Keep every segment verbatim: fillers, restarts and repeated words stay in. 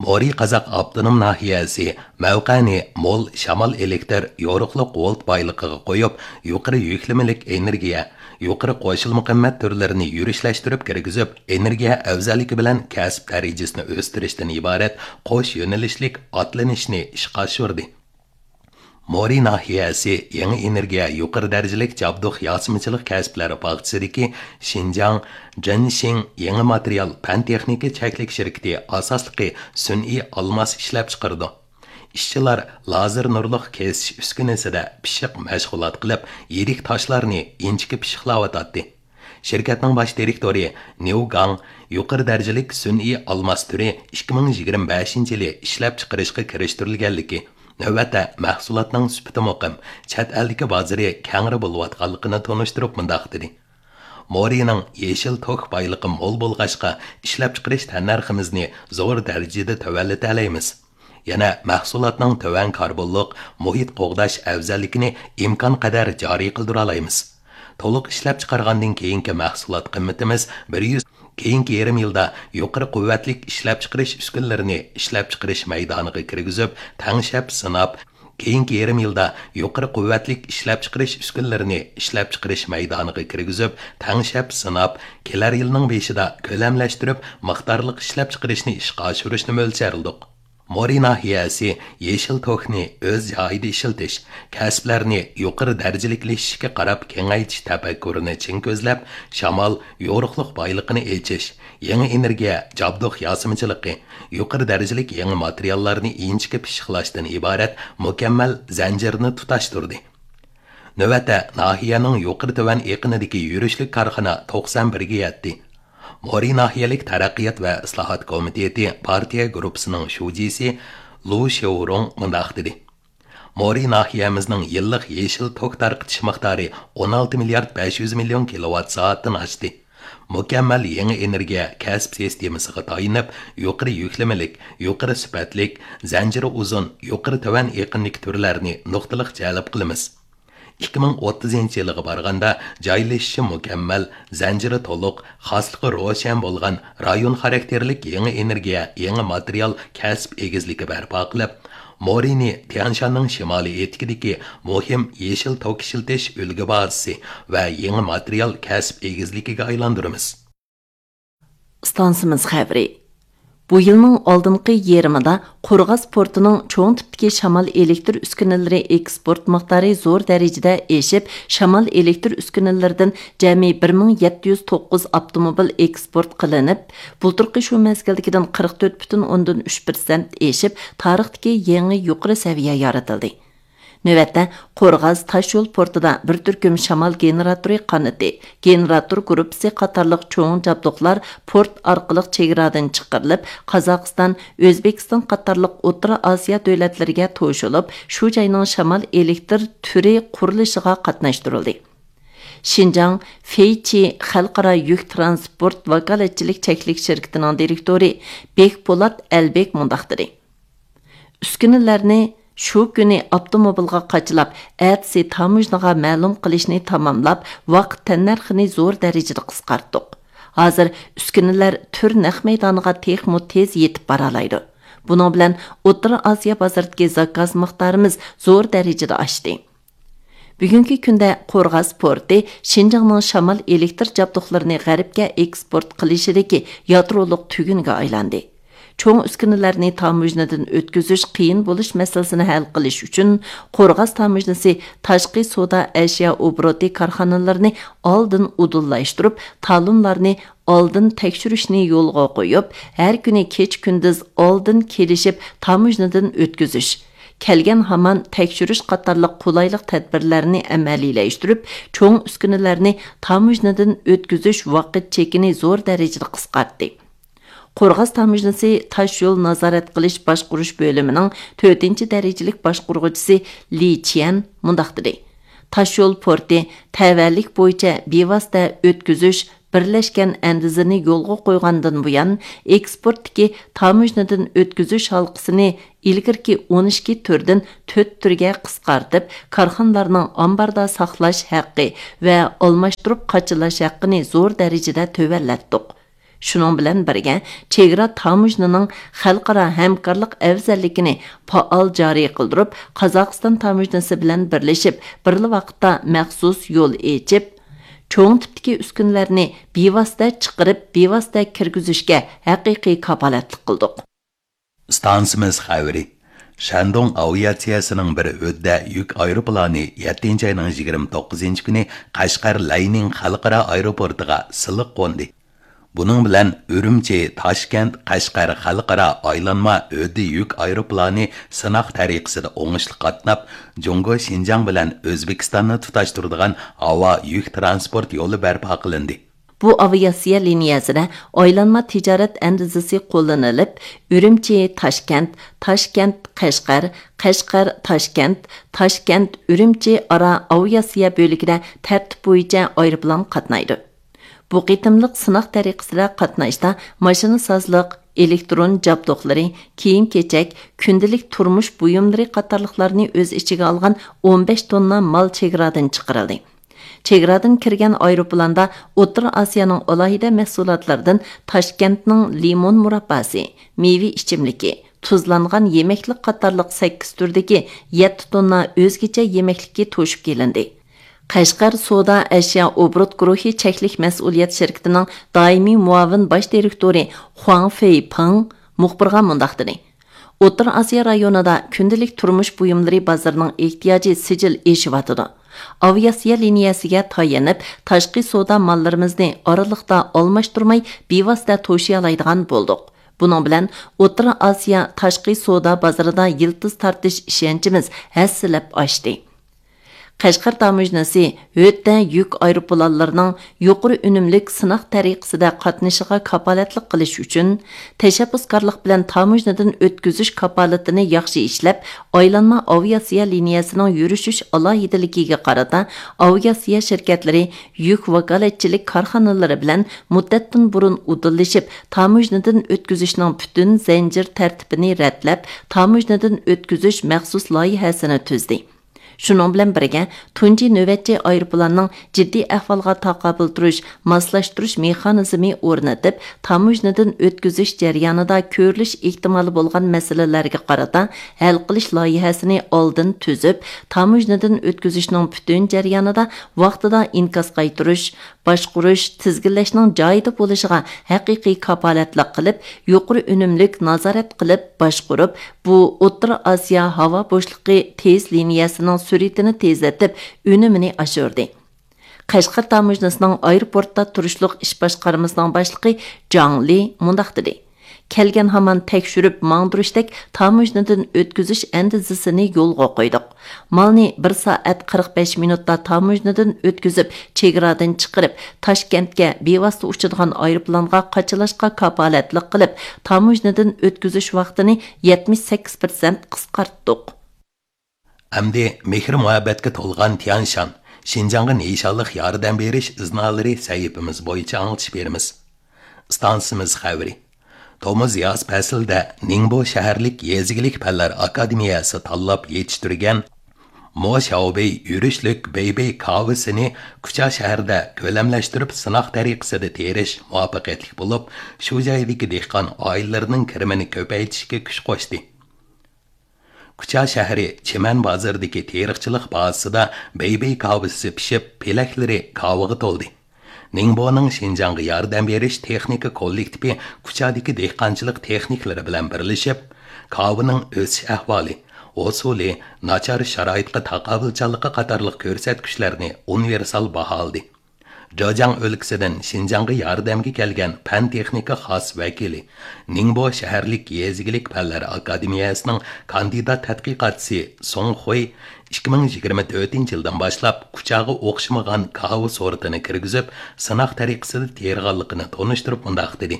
ئورى قازاق ئاپتونوم ناھىيەسى مەۋقەنى مول شامال ئېلېكتر يورۇقلۇق ۋولت بايلىقىغا قويۇپ، يۇقىرى يۈكلىمىلىك ئېنېرگىيە، يۇقىرى قوشۇلما قىممەت تۈرلىرىنى يۈرۈشلەشتۈرۈپ كىرگۈزۈپ، ئېنېرگىيە ئەۋزەللىكى بىلەن كەسىپ دەرىجىسىنى ئۆستۈرۈشتىن ئىبارەت قوش يۆنىلىشلىك ئاتلىنىشنى ئىشقا ئاشۇردى. مورى ناھىيەسى يېڭى ئېنېرگىيە يۇقىرى دەرىجىلىك جابدۇق ياسىمىچىلىق كەسىپلەر باغچىسىدىكى شىنجاڭ جېنشىڭ يېڭى ماتېرىيال پەن تېخنىكا چەكلىك شىركىتى ئاساسلىقى سۈنئىي ئالماس ئىشلەپچىقىرىدۇ. ئىشچىلار لازېر نۇرلۇق كېسىش ئۈسكۈنىسىدە پىششىق مەشغۇلات قىلىپ، يىرىك تاشلارنى ئىنچىكە پىششىقلاۋاتاتتى. شىركەتنىڭ باش دىرېكتورى نيۇ گاڭ يۇقىرى دەرىجىلىك سۈنئىي ئالماس تۈرى ئىككى مىڭ يىگىرمە بەشىنچى يىلى ئىشلەپچىقىرىشقا كىرىشتۈرۈلگەنلىكى، نۆۋەتتە مەھسۇلاتنىڭ سۈپىتى مۇقىم، چەت ئەلدىكى بازىرى كەڭرى بولۇۋاتقانلىقىنى تونۇشتۇرۇپ مۇنداق دېدى: مورىنىڭ يېشىل توك بايلىقى مول بولغاچقا، ئىشلەپچىقىرىش تەننەرخىمىزنى زور دەرىجىدە تۆۋەنلىتەلەيمىز. يەنە مەھسۇلاتنىڭ تۆۋەن كاربونلۇق مۇھىت قوغداش ئەۋزەللىكىنى ئىمكانقەدەر جارى قىلدۇرالايمىز. تولۇق ئىشلەپچىقارغاندىن كېيىنكى مەھسۇلات قىممىتىمىز بىر يۈز، كېيىنكى يېرىم يىلدا يۇقىرى قۇۋۋەتلىك ئىشلەپچىقىرىش ئۈسكۈنىلىرىنى ئىشلەپچىقىرىش مەيدانىغا كىرگۈزۈپ، تەڭشەپ سىناپ، كېيىنكى يېرىم يىلدا يۇقىرى قۇۋۋەتلىك ئىشلەپچىقىرىش ئۈسكۈنىلىرىنى ئىشلەپچىقىرىش مەيدانىغا كىرگۈزۈپ، تەڭشەپ سىناپ، كېلەر يىلنىڭ بېشىدا كۆلەملەشتۈرۈپ، مىقدارلىق ئىشلەپچىقىرىشنى ئىشقا ئاشۇرۇشنى مۆلچەرلىدۇق. مورى ناھىيەسى يېشىل توكنى ئۆز جايىدا ئىشلىتىش، كەسىپلەرنى يۇقىرى دەرىجىلىكلىشىشكە قاراپ كېڭەيتىش تەپەككۇرىنى چىڭ كۆزلەپ، شامال، يورۇقلۇق بايلىقىنى ئېچىش، يېڭى ئېنېرگىيە، جابدۇق ياسىمىچىلىقى، يۇقىرى دەرىجىلىك يېڭى ماتېرىياللارنى ئىنچىكە پىششىقلاشتىن ئىبارەت مۇكەممەل زەنجىرنى تۇتاشتۇردى. نۆۋەتتە ناھىيەنىڭ يۇقىرى تۆۋەن ئېقىنىدىكى يۈرۈشلۈك كارخانا توقسان بىرگە يەتتى. مورى ناھىيەلىك تەرەققىيات ۋە ئىسلاھات كومىتېتى پارتىيە گۇرۇپپىسىنىڭ شۇجىسى لۇ شياۋرۇڭ مۇنداق دېدى: مورى ناھىيەمىزنىڭ يىللىق يېشىل توك تارقىتىش مىقدارى ئون ئالتە مىليارد بەش يۈز مىليون كىلوۋات سائەتتىن ئاشتى. مۇكەممەل يېڭى ئېنېرگىيە كەسىپ سىستېمىسىغا تايىنىپ، يۇقىرى يۈكلىمىلىك، يۇقىرى سۈپەتلىك، زەنجىرى ئۇزۇن، يۇقىرى تۆۋەن ئېقىنلىك تۈرلەرنى نۇقتىلىق جەلپ قىلىمىز. ئىككى مىڭ ئوتتۇزىنچى يىلىغا بارغاندا، جايلىشىشى مۇكەممەل، زەنجىرى تولۇق، خاسلىقى روشەن بولغان رايون خاراكتېرلىك يېڭى ئېنېرگىيە، يېڭى ماتېرىيال كەسىپ ئېگىزلىكى بەرپا قىلىپ، مورىنى تيەنشاننىڭ شىمالىي ئېتىكىدىكى مۇھىم يېشىل توك ئىشلىتىش ئۈلگە بازىسى ۋە يېڭى ماتېرىيال كەسىپ ئېگىزلىكىگە ئايلاندۇرىمىز. ئىستانسىمىز خەۋىرى. بۇ يىلنىڭ ئالدىنقى يېرىمىدا قورغاس پورتىنىڭ چوڭ تىپتىكى شامال ئېلېكتر ئۈسكۈنىلىرى ئېكسپورت مىقدارى زور دەرىجىدە ئېشىپ، شامال ئېلېكتر ئۈسكۈنىلىرىدىن جەمئىي بىر مىڭ يەتتە يۈز توققۇز ئاپتوموبىل ئېكسپورت قىلىنىپ، بۇلتۇرقى شۇ مەزگىلدىكىدىن قىرىق تۆت پۈتۈن ئوندىن ئۈچ پىرسەنت ئېشىپ، تارىختىكى يېڭى يۇقىرى سەۋىيە يارىتىلدى. نۆۋەتتە، قورغاس تاشيول پورتىدا بىر تۈركۈم شامال گېنېراتورى قانىتى، گېنېراتور گۇرۇپپىسى قاتارلىق چوڭ جابدۇقلار پورت ئارقىلىق چېگرادىن چىقىرىلىپ، قازاقىستان، ئۆزبېكىستان قاتارلىق ئوتتۇرا ئاسىيا دۆلەتلىرىگە توشۇلۇپ، شۇ جاينىڭ شامال ئېلېكتر تۈرى قۇرۇلۇشىغا قاتناشتۇرۇلدى. شىنجاڭ فېيچى خەلقئارا يۈك تىرانسپورت ۋاكالەتچىلىك چەكلىك شىركىتىنىڭ دىرېكتورى بېكپولات ئەلبېك مۇنداق دېدى: ئۈسكۈنىلەرنى شۇ كۈنى ئاپتوموبىلغا قاچىلاپ، ئەتىسى تاموژنىغا مەلۇم قىلىشنى تاماملاپ، ۋاقىت تەننەرخىنى زور دەرىجىدە قىسقارتتۇق. ھازىر ئۈسكۈنىلەر تۈر نەق مەيدانىغا تېخىمۇ تېز يېتىپ بارالايدۇ. بۇنىڭ بىلەن ئوتتۇرا ئاسىيا بازىرىدىكى زاكاز مىقدارىمىز زور دەرىجىدە ئاشتى. بۈگۈنكى كۈندە قورغاس پورتى شىنجاڭنىڭ شامال ئېلېكتر جابدۇقلىرىنى غەربكە ئېكسپورت قىلىشىدىكى يادرولۇق تۈگۈنگە ئايلاندى. چوڭ ئۈسكۈنىلەرنى تاموژنىدىن ئۆتكۈزۈش قىيىن بولۇش مەسىلىسىنى ھەل قىلىش ئۈچۈن، قورغاس تاموژنىسى تاشقى سودا ئەشيا ئوبوروتى كارخانىلىرىنى ئالدىن ئۇدۇللاشتۇرۇپ، تالونلارنى ئالدىن تەكشۈرۈشنى يولغا قويۇپ، ھەر كۈنى كېچە-كۈندۈز ئالدىن كېلىشىپ تاموژنىدىن ئۆتكۈزۈش، كەلگەن ھامان تەكشۈرۈش قاتارلىق قولايلىق تەدبىرلەرنى ئەمەلىيلەشتۈرۈپ، چوڭ ئۈسكۈنىلەرنى تاموژنىدىن ئۆتكۈزۈش ۋاقىت چېكىنى زور دەرىجىدە قىسقارتتى. قورغاس تاموژنىسى تاش يول نازارەت قىلىش باشقۇرۇش بۆلۈمىنىڭ تۆتىنچى دەرىجىلىك باشقۇرغۇچىسى لى چيەن مۇنداق دېدى: تاش يول پورتى تەۋەلىك بويىچە بىۋاسىتە ئۆتكۈزۈش بىرلەشكەن ئەندىزىنى يولغا قويغاندىن بۇيان، ئېكسپورتتىكى تاموژنىدىن ئۆتكۈزۈش ھالقىسىنى ئىلگىرىكى ئون ئىككى تۈردىن تۆت تۈرگە قىسقارتىپ، كارخانىلارنىڭ ئامباردا ساقلاش ھەققى ۋە ئالماشتۇرۇپ قاچىلاش ھەققىنى زور دەرىجىدە تۆۋەنلەتتۇق. شۇنىڭ بىلەن بىرگە، چېگرا تاموژنىنىڭ خەلقئارا ھەمكارلىق ئەۋزەللىكىنى پائال جارى قىلدۇرۇپ، قازاقىستان تاموژنىسى بىلەن بىرلىشىپ، بىرلا ۋاقىتتا مەخسۇس يول ئېچىپ، چوڭ تىپتىكى ئۈسكۈنىلەرنى بىۋاسىتە چىقىرىپ، بىۋاسىتە كىرگۈزۈشكە ھەقىقىي كاپالەتلىك قىلدۇق. ئىستانسىمىز خەۋىرى. شەندۇڭ ئاۋىئاتسىيەسىنىڭ بىر ھۆددە يۈك ئايروپىلانى يەتتىنچى ئاينىڭ يىگىرمە توققۇزىنچى كۈنى قەشقەر لەينىڭ خەلقئارا ئايروپورتىغا سىلىق قوندى. بۇنىڭ بىلەن ئۈرۈمچى، تاشكەنت، قەشقەر خەلقئارا ئايلانما ھۆددە يۈك ئايروپىلانى سىناق تەرىقىسىدە ئوڭۇشلۇق قاتناپ، جۇڭگو شىنجاڭ بىلەن ئۆزبېكىستاننى تۇتاشتۇرىدىغان ھاۋا يۈك تىرانسپورت يولى بەرپا قىلىندى. بۇ ئاۋىئاتسىيە لىنىيەسىدە ئايلانما تىجارەت ئەندىزىسى قوللىنىلىپ، ئۈرۈمچى، تاشكەنت، تاشكەنت، قەشقەر، قەشقەر، تاشكەنت، تاشكەنت، ئۈرۈمچى ئارا ئاۋىئاتسىيە بۆلىكىدە تەرتىپ بويىچە ئايروپىلان قاتنايدۇ. بۇ قېتىملىق سىناق تەرىقىسىدە قاتناشتا ماشىنىسازلىق، ئېلېكترون جابدۇقلىرى، كىيىم-كېچەك، كۈندىلىك تۇرمۇش بۇيۇملىرى قاتارلىقلارنى ئۆز ئىچىگە ئالغان ئون بەش توننا مال چېگرادىن چىقىرىلدى. چېگرادىن كىرگەن ئايروپىلاندا ئوتتۇرا ئاسىيانىڭ ئالاھىدە مەھسۇلاتلىرىدىن تاشكەنتنىڭ لىمون مۇرابباسى، مېۋە ئىچىملىكى، تۇزلانغان يېمەكلىك قاتارلىق سەككىز تۈردىكى يەتتە توننا ئۆزگىچە يېمەكلىكى توشۇپ كېلىندى. قەشقەر سودا ئەشيا ئوبوروت گۇرۇھى چەكلىك مەسئۇلىيەت شىركىتىنىڭ دائىمىي مۇئاۋىن باش دىرېكتورى خۇاڭ فېيپىڭ مۇخبىرغا مۇنداق دېدى: ئوتتۇرا ئاسىيا رايونىدا كۈندىلىك تۇرمۇش بۇيۇملىرى بازىرىنىڭ ئېھتىياجى سىجىل ئېشىۋاتىدۇ. ئاۋىئاتسىيە لىنىيەسىگە تايىنىپ، تاشقى سودا ماللىرىمىزنى ئارىلىقتا ئالماشتۇرماي، بىۋاسىتە توشۇيالايدىغان بولدۇق. بۇنىڭ بىلەن ئوتتۇرا ئاسىيا تاشقى سودا بازىرىدا يىلتىز تارتىش ئىشەنچىمىز ھەسسىلەپ ئاشتى. قەشقەر تاموژنىسى ھۆددە يۈك ئايروپىلانلىرىنىڭ يۇقىرى ئۈنۈملۈك سىناق تەرىقىسىدە قاتنىشىشىغا كاپالەتلىك قىلىش ئۈچۈن، تەشەببۇسكارلىق بىلەن تاموژنىدىن ئۆتكۈزۈش كاپالىتىنى ياخشى ئىشلەپ، ئايلانما ئاۋىئاتسىيە لىنىيەسىنىڭ يۈرۈشۈش ئالاھىدىلىكىگە قارىتا، ئاۋىئاتسىيە شىركەتلىرى يۈك ۋاكالەتچىلىك كارخانىلىرى بىلەن مۇددەتتىن بۇرۇن ئۇدۇللىشىپ، تاموژنىدىن ئۆتكۈزۈشنىڭ پۈتۈن زەنجىر تەرتىپىنى رەتلەپ، تاموژنىدىن ئۆتكۈزۈش مەخسۇس لايىھەسىنى تۈزدى. شۇنىڭ بىلەن بىرگە، تۇنجى نۆۋەتچى ئايروپىلاننىڭ جىددىي ئەھۋالغا تاقابىل تۇرۇش، ماسلاشتۇرۇش مېخانىزمى ئورنىتىپ، تاموژنىدىن ئۆتكۈزۈش جەريانىدا كۆرۈلۈش ئېھتىمالى بولغان مەسىلىلەرگە قارىتا ھەل قىلىش لايىھەسىنى ئالدىن تۈزۈپ، تاموژنىدىن ئۆتكۈزۈشنىڭ پۈتۈن جەريانىدا ۋاقتىدا ئىنكاس قايتۇرۇش، باشقۇرۇش، تىزگىنلەشنىڭ جايىدا بولۇشىغا ھەقىقىي كاپالەتلىك قىلىپ، يۇقىرى ئۈنۈملۈك نازارەت قىلىپ باشقۇرۇپ، بۇ ئوتتۇرا ئاسىيا ھاۋا بوشلۇقى تېز لىنىيەسىنىڭ سۈرئىتىنى تېزلىتىپ، ئۈنۈمىنى ئاشۇردى. قەشقەر تاموژنىسىنىڭ ئايروپورتتا تۇرۇشلۇق ئىش باشقارمىسىنىڭ باشلىقى جاڭ لى مۇنداق دېدى: كەلگەن ھامان تەكشۈرۈپ ماڭدۇرۇشتەك تاموژنىدىن ئۆتكۈزۈش ئەندىزىسىنى يولغا قويدۇق. مالنى بىر سائەت قىرىق بەش مىنۇتتا تاموژنىدىن ئۆتكۈزۈپ، چېگرادىن چىقىرىپ، تاشكەنتكە بىۋاسىتە ئۇچىدىغان ئايروپىلانغا قاچىلاشقا كاپالەتلىك قىلىپ، تاموژنىدىن ئۆتكۈزۈش ۋاقتىنى يەتمىش سەككىز پىرسەنت قىسقارتتۇق. ئەمدى مېھىر-مۇھەببەتكە تولغان تيەنشان، شىنجاڭغا نىشانلىق ياردەم بېرىش ئىزنالىرى سەھىپىمىز بويىچە ئاڭلىتىش بېرىمىز. ئىستانسىمىز خەۋىرى. تومۇز ياز پەسلىدە نىڭبو شەھەرلىك يېزا ئىگىلىك پەنلەر ئاكادېمىيەسى تاللاپ يېتىشتۈرگەن مو شياۋبېي يۈرۈشلۈك بېيبېي كاۋىسىنى كۇچا شەھىرىدە كۆلەملەشتۈرۈپ سىناق تەرىقىسىدە تېرىش مۇۋەپپەقىيەتلىك بولۇپ، شۇ جايدىكى دېھقان ئائىلىلىرىنىڭ كىرىمىنى كۆپەيتىشكە كۈچ قوشتى. كۇچا شەھىرى چىمەن بازىرىدىكى تېرىقچىلىق بازىسىدا بېيبېي كاۋىسى پىشىپ، پېلەكلىرى كاۋىغا تولدى. نىڭبونىڭ شىنجاڭغا ياردەم بېرىش تېخنىكا كوللېكتىپى كۇچادىكى دېھقانچىلىق تېخنىكلىرى بىلەن بىرلىشىپ، كاۋىنىڭ ئۆسۈش ئەھۋالى، ھوسۇلى، ناچار شارائىتقا تاقابىلچانلىقى قاتارلىق كۆرسەتكۈچلەرنى ئۇنىۋېرسال باھالىدى. جېجياڭ ئۆلكىسىدىن شىنجاڭغا ياردەمگە كەلگەن پەن تېخنىكا خاس ۋەكىلى، نىڭبو شەھەرلىك يېزا ئىگىلىك پەنلەر ئاكادېمىيەسىنىڭ كاندىدات تەتقىقاتچىسى سۇڭ خۇي ئىككى مىڭ يىگىرمە تۆتىنچى يىلدىن باشلاپ كۇچاغا ئوخشىمىغان كاۋا سورتىنى كىرگۈزۈپ، سىناق تەرىقىسىدە تېرىغانلىقىنى تونۇشتۇرۇپ مۇنداق دېدى: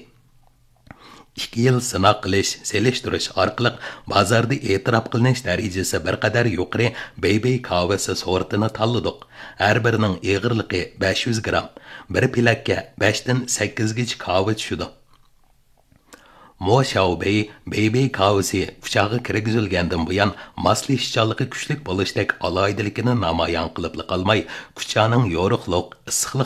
ئىككى يىل سىناق قىلىش، سېلىشتۇرۇش ئارقىلىق بازاردا ئېتىراپ قىلىنىش دەرىجىسى بىر قەدەر يۇقىرى بېيبېي كاۋىسى سورتىنى تاللىدۇق. ھەر بىرىنىڭ ئېغىرلىقى بەش يۈز گرام. بىر پېلەككە بەشتىن سەككىزگىچە كاۋا چۈشىدۇ. مو شياۋبېي بېيبېي كاۋىسى كۇچاغا كىرگۈزۈلگەندىن بۇيان، ماسلىشىشچانلىقى كۈچلۈك بولۇشتەك ئالاھىدىلىكىنى نامايان قىلىپلا قالماي، كۇچانىڭ يورۇقلۇق، ئىسسىقلىق